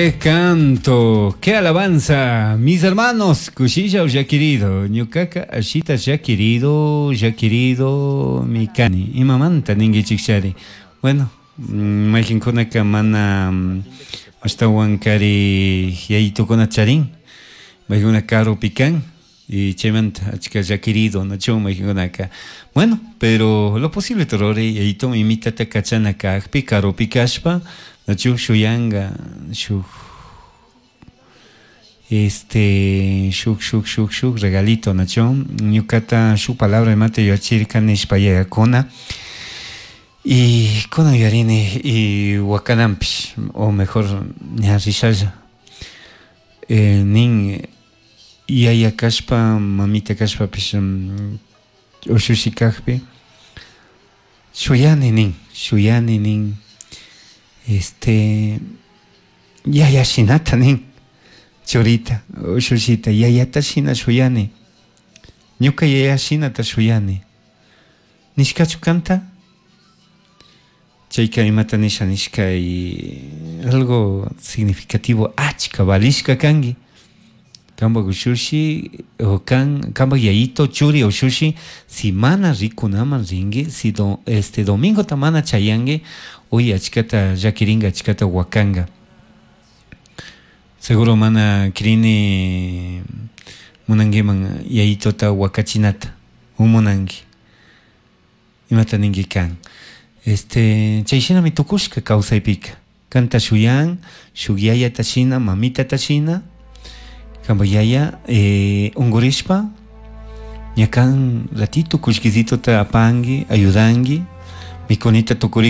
Qué canto, qué alabanza, mis hermanos, kushilla llaquirido, ñukaka ashita llaquirido, llaquirido mi kani, imamanta ninguichikchari. Bueno, mayqinkunaka mana ashtawan kari yayitukuna charin, paykuna karupi kan, y chaymanta achka llaquirido, nachu mayqinkunaka. Bueno, pero lo posible ruray yayitu imitata kachana kajpi karupi kashpa, nachu shuyanga shuk este shuk shuk shuk shuk regalito nachu ñukata shuk palabra imata yuyachirka nishpa yayakuna y kunan yuyarini y wakananpish o mejor ña rishalla nin yaya kashpa mamita kashpapish ushushi kajpi shuyani nin shuyani nin este yaya shinata nin churita ushushita yayata shina shuyani ñuka yaya shinata shuyani nishkachu kanta chayka imata nisha nishka y algo significativo achka valishka kanki kanpak ushushi o kan kanpak yayito churi ushushi si mana rikunaman rinki si do, este domingota mana chayanki uy achkata llakirinka achkata wakanka seguro mana crini munankiman yayitota wakachinata o munanki imata ninki kan este chay shinami tukushka kawsaypika kanta shuyan shuk yayata shina mamitata shina kanpak yaya unkurishpa ña kan ratito kullkisitota apanki ayudanki mikunita tukuri.